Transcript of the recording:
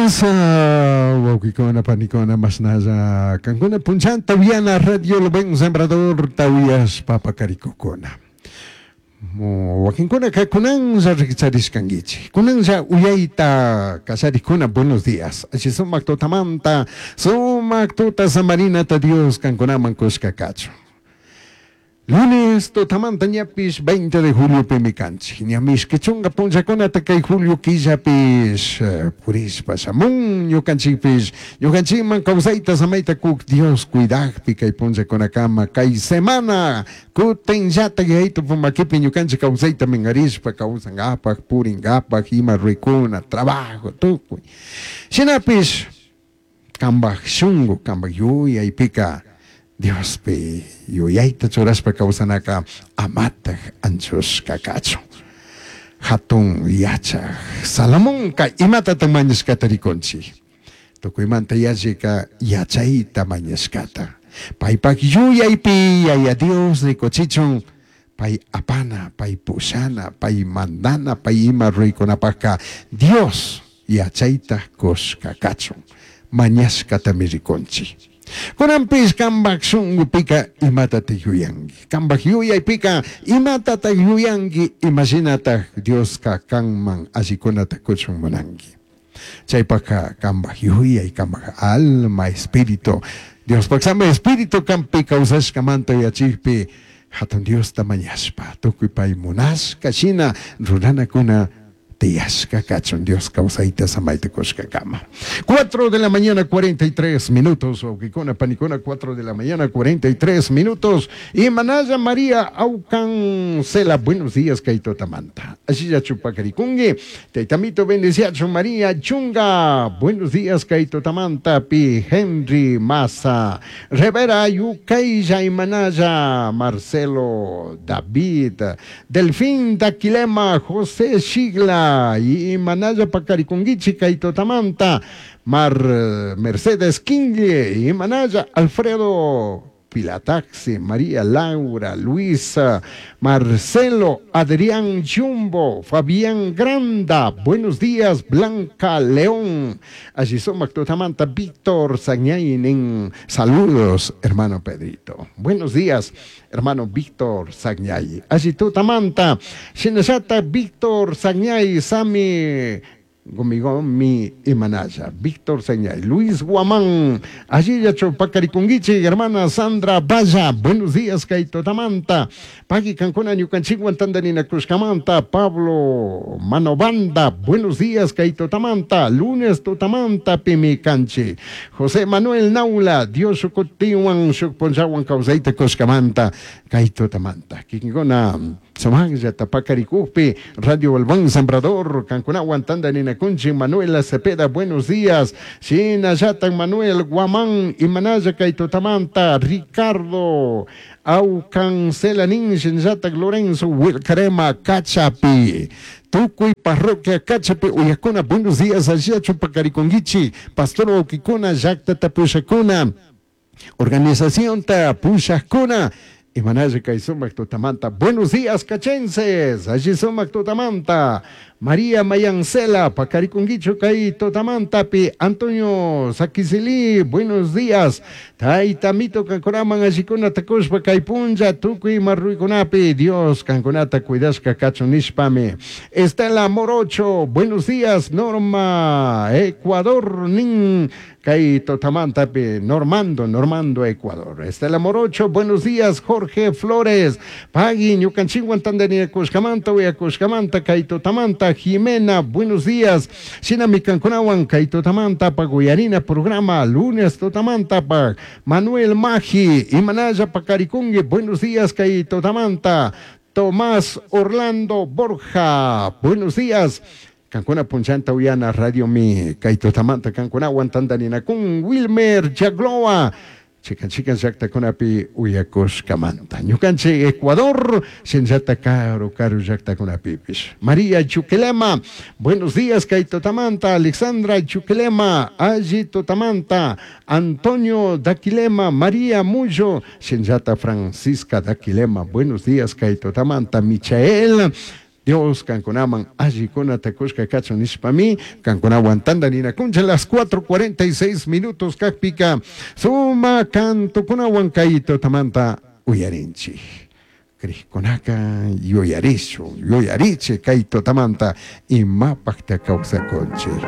Buenos días, wawkikuna, panikuna, mashnalla kankuna punchanta uyana Radio El Buen Sembrador uyashpa pakarikukuna. Wakinkunaka kunanlla rikcharishkankichik. Kunanlla uyayta kallarikuna, buenos días. Alli sumak tutamanta, sumak tuta samarinata Dios kankunaman kushka kachun. Lunes tutamanta ñapish 20 de juliopimi kanchik. Ña mishki chunga punllakunata kay julio killapish purishpa shamun ñukanchikpish ñukanchikman kawsayta samayta kuk Dios cuidakpi kay punllakunakama kay semana kutinllatak Yayitupa makipi ñukanchik kawsayta minkarishpa kawsankapak purinkapak ima ruraykuna trabajo tukuy. Shinapish Cambaj shungu, cambaj yuyaipica Diospi yuyaita churashpa causanaca amataj anchushca cachun. Jatun yachaj Salomonca imatataj mañashcata ricunchij? Tucuimanta yallica yachaita mañashcata. Paipaj yuyaipi Yaya Dios ricuchichun pai apana, pai pushana, pai mandana, pai ima ruraicunapajca Dios yachaita cushca cachun mañashcatami ricunchij. Cunanpish cambaj shungupica imatataj yuyangui? Cambaj yuyaipica imatataj yuyangui? Ima shinataj Diosca canman allicunata cuchun munangui? Chaipajca cambaj yuyai, cambaj alma, espíritu, Diospaj Santo Espíritu canpi causashcamanta yuyachijpi Jatun Diosta mañashpa, tucui pai munashca shina ruranacuna tiyashca cachun Dios causaita samaita cushcacama. 4 de la mañana 43 minutos, wauquicuna, panicuna, 4 de la mañana 43 minutos. Y Manaya María Aucancela, buenos días, kay tutamanta. Ashilla chupacaricungui, Taitamito bendeciachu María Chunga, buenos días, kay tutamanta, pi Henry Maza, Rivera Yucaylla y Manaya, Marcelo David, Delfín Daquilema, José Shigla, y Manaya Pacaricunguichi, kay tutamanta, Mar Mercedes Quingle, y Manaya Alfredo Pilataxi, María Laura, Luisa, Marcelo, Adrián Jumbo, Fabián Granda, buenos días, Blanca León, allí somos Tutamanta, Víctor Sagñaynin, saludos, hermano Pedrito, buenos días, hermano Víctor Sagñay, allí Tutamanta, Shinashata, Víctor Sagñay, Sami, Gomigomi Imanaya, Víctor Señay, Luis Guamán, allí Pacaricunguichi, hermana Sandra Valla, buenos días, Kaito Tamanta, Pagui Cancuna, Ñucanchiguan, Tandanina Cruzcamanta, Pablo Manobanda, buenos días, Kaito Tamanta, lunes Tutamanta, Pimicanchi, José Manuel Naula, Dios Sucutiwan, Sucponchawan, Causaita Cuscamanta, Kaito Tamanta, Kingona. Sumajllata pakarikukpi, Radio El Buen Sembrador, Cancunawan, Tandaninakunchi, Manuela Cepeda, buenos días. Shinallatan Manuel Guamán, Imanaya Kaitotamanta, Ricardo Aucancelanin, Shinallatan Lorenzo Wilcarema, Cachapi. Tukuy parroquia Cachapi, uyakuna, buenos días, Alliachu Pacariconguichi, Pastor Oquicuna, Llacta Tapushakuna, Organización Tapushakuna, Imanaya kay sumak tutamanta. Buenos días, cachenses. Allí sumak tutamanta. María Mayancela, Pacariconguicho kay tutamanta pi. Antonio Saquicilí, buenos días. Taitamito kankunaman allikuna takushpa kay punlla tukuy marruikunapi. Dios kankunata cuidashka kachun nishpami. Estela Morocho, buenos días. Norma, Ecuador, nin. Kay tutamanta pi. Normando, Normando, Ecuador. Estela Morocho, buenos días. Jorge Flores, Pagui, ñukanchikwan tandanakushkamanta, uyakushkamanta, kay tutamanta, Jimena, buenos días. Shinami kankunawan, kay tutamanta, paguyarina programa, lunes tutamanta, pa Manuel Magi, Imanaya Pacarikungue, buenos días, kay tutamanta, Tomás Orlando Borja, buenos días. Cancuna Punchanta Uyana, Radio Mi, kay tutamanta, kankunawan tandaninakun, Wilmer Jagloa, Chikan chikan llaktakunapi uyakushkamanta. Ñukanchik Ecuador, shinllata karu karu llaktakunapipish. María Chuquilema, buenos días, kay tutamanta. Alexandra Chuquilema, alli tutamanta. Antonio Daquilema, María Mullo, shinllata Francisca Daquilema, buenos días, kay tutamanta. Michael Dios kankunaman allikunata kushka kachun nishpami kankunawan tantarinakunchik las 4:46 minutos kakpika sumak cantokunawan kay tutamanta uyarinchik. Crijkunaka yuyarishun, yuyarichik kay tutamanta imapakta kawsakunchik.